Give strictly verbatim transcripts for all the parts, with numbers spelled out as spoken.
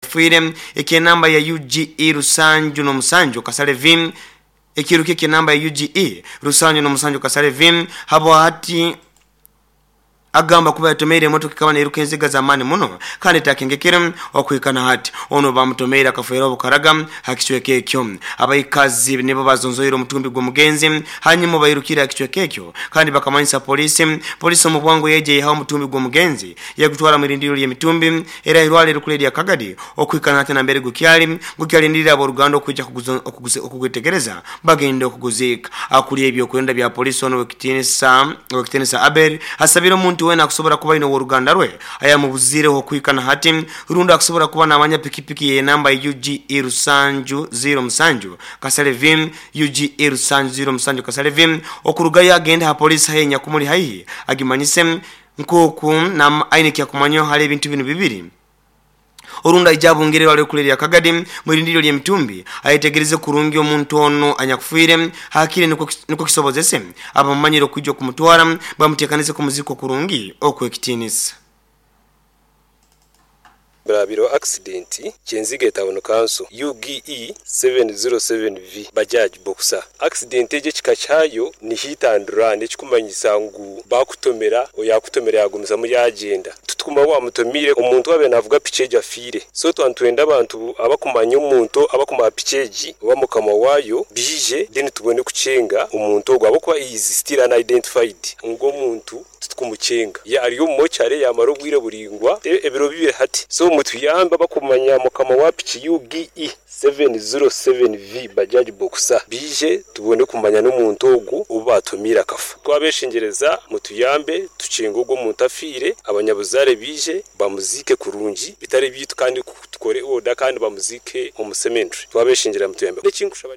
Fiire eky'enamba ya U G E rusanju n'omusanju kasale V, ekiruka eky'enamba ya U G E rusanju n'omusanju kasale V, habwa hati agamba kuba yatomeire emotoka ekaba neeruka enziga z'amaani muno kandi etakengekere. Okuhika na hati ono bamutomeire akafuera obukaraga ha kicweka ekyo. Abaikazi nibo bazonzoire omutumbi gw'omugenzi, hanyuma bairukire ha kicweka ekyo kandi bakamanyisa polisi. Polisi omu bwangu yeija yihaho omutumbi gw'omugenzi, yagutwara mu irindiro ly'emitumbi era irwale erikuru erya Kagadi. Okuhika na hati nambere gukyali gukyalindirira abooruganda okwija okugwetegereza bagende okuguziika. Akuli ebyokwerinda bya polisi ono wekitinisa wekitinisa Abel asabire omuntu wena akusobola kuba aine oworuganda rwe ayamubuzireho okuhika na hati, rundi akusobola kuba namanya pikipiki yenamba U G E rusanju zero musanju kasale V, U G E rusanju zero musanju kasale V, okurugayo agende ha polisi haihi nyakumuli haihi agimanyise nkoku aine kyakumanyaho hali ebintu binu bibiri, orundi aija abungire irwaliro erya Kagadi mwirindiro ly'emitumbi ayetegereze kurungi omuntu ono anyakufiire hakire, nukwo kisobozese abamumanyire okwija okumutwara bamuteekanize kumuzika kurungi okwekitiinisa. Birabiro accident Kyenzige Town Council, U G E seven zero seven V Bajaj Boxer. Accident egi ekika kyayo ni hit and run, ekikumanyisa ngu bakutomera, oyakutomera yagumizamu yagenda, tutukuma wamutomire. Omuntu abe navuga piki egi afiire. So twantwenda abantu abakumanya omuntu abakumanya piki egi oba mukama waayo bije, then tubone kucenga omuntu ogwo, ahabwokuba he is still unidentified. Ngu omuntu tutukumucenga ari omu mochare yamara obwire buringwa, ebiro bibiri hati. So mutuyambe, abakumanya mukama wa piki U G E seven zero seven V Bajaj Boxer bije tubone kumanya n'omuntu ogu obu batumire akafa. Twabeshengereza mutuyambe tucenga ogwo omuntu afiire, abanyabuzare bije bamuzike kurungi bitari bitu, kandi tukore order kandi bamuzike omu cemetery. Twabeshengereza mutuyambe. Ekinkushaba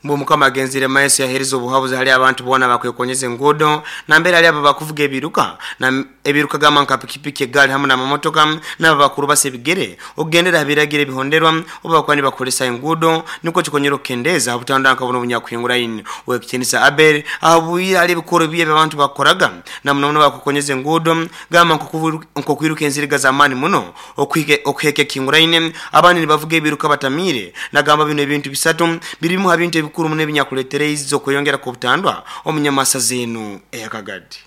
Mbu mukama agenzire maiso yahereza obuhabuzi hali abantu boona bakwekonyeza enguudo, nambere hali abo bakuvuga ebiruka na ebiruka gamba nka pikipiki, egaali hamu n'amamotoka, nabo bakuru basa ebigere okugendera ha biragiro ebihonderwa oba bakuba nibakozesa enguudo, nikwo kikonyera okukendeeza obutandwa nka buno obunyakuhinguraine. Wekitinisa Abel ahabwire hali ebikoro bibi abantu bakoraga na muno muno bakukonyeza enguudo, gamba nk'okwiruka enziriga z'amaani muno, okuheka ekihinguraine, abandi nibavuga ebiruka batamiire. Nagamba bino ebintu bisatu birimu ha bintu ebikuru muno ebinyakuletereize okweyongera kw'obutandwa omunyamasa zenu eyakagadi.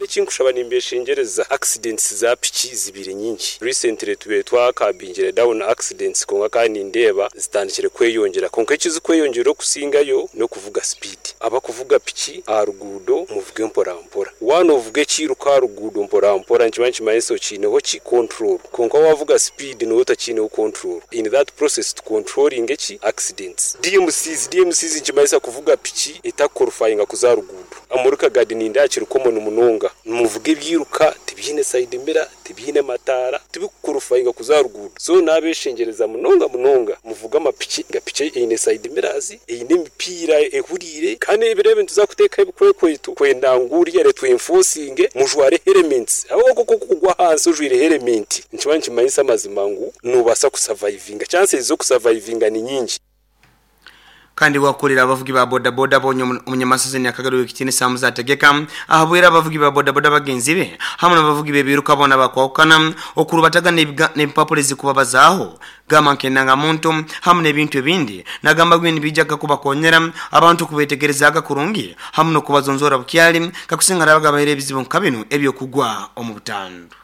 Ekinkushaba nimbeshengereza, accidents za piki zibiri nyingi. Recently tube twakabingire down accidents, konka kandi nindeeba zitandikire kweyongera. Konka ekizikweyongera okusingayo n'okuvuga speed. Abakuvuga piki aha ruguudo, muvuge mpora mpora. Waana ovuga ekiruka aha ruguudo mpora mpora, nikiba nikimanyisa okiineho ki control. Konka wavuga speed, niwe otakiineho control. In that process tucontrolling eki accidents. D M Cs, D M Cs nikimanyisa kuvuga piki etakuqualifyinga kuza aha ruguudo. Omuri Kagadi nindeeba kiri common munonga. Nimuvuga ebyiruka tibiine side mirror, tibiine mataara, tibikuqualifyinga kuza aha ruguudo. So nabeshengereza munonga munonga, muvuge amapiki nga piki eine side mirrors, eine emipiira ehuriire, kandi ebiro ebi nituza kuteekaho ebikwekweto kwenda ngu uriya twenforcinge mujware helmets, ahabw'okuba kugwa ahansi ojwaire helmet nikiba nikimanyisa amazima ngu nobaasa kusurvivinga, chances z'okusurvivinga ni nyingi. Kandi wakulira abavugi ba bodaboda bonye omunyamasazini akagari w'ekitinisa muzategeka ahabwera abavugi ba bodaboda bagenzi be hamwe n'abavugi b'ebiruka bona bakwawukana okurubataga n'empapula ezikubabazaaho gamba nk'endangamuntu hamwe n'ebintu ebindi. Nagamba bwe nibijaga kubakonyera abantu okubetegerezaaga kurungi hamwe n'okubazonzora bukyali kakusinga rabaga bahere ebizibu nka binu ebyokugwa omu butandu.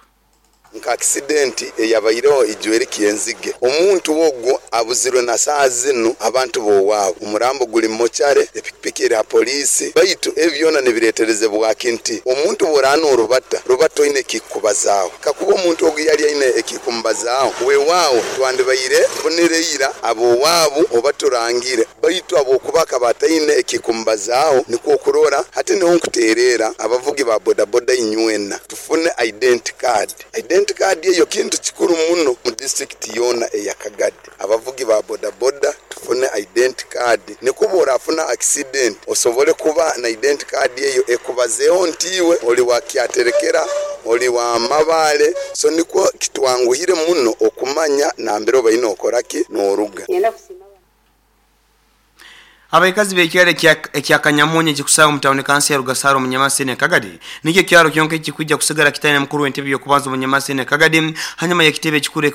Nka accident eyabaireho ijweri Kyenzige, omuntu ogwo abuzirwe na saaha zinu abantu bowaabo, omurambo guli mochare, epikipiki eri ha polisi. Baitu ebyo byona nibireterezebwaki nti omuntu bworana orubata rubata oine ekikubazaaho. Kakuba omuntu ogu yali aine ekikumubazaaho, weewaawo twandibaire tufunireira abowaabo oba turangire, baitu habwokuba akaba ataine ekikumubazaaho, nikwo okurora hati niho nkuteerera abavugi ba bodaboda inywena tufune identity card. Identity card eyo kintu kikuru muno mu district yoona eya Kagadi. Abavugi ba bodaboda tufune identity card, nikwo bworafuna accident osobole kuba na identity card eyo ekubazeeho nti iwe oli wa Kyaterekera, oli wa Mabaale, so nikwo kitwanguhire muno okumanya nambere obaine okoraki n'oruga. Abaikazi b'ekyaro ekya Kanyamunyu ekikusanga omu tawuni kansi ya Rugasaro omunyamasini Kagadi nikyo kyaro kyonka ekikwija kusigara kitaine mukuru w'entebe y'okubanza omunyamasini Kagadi hanyuma y'ekitebe ekikuru.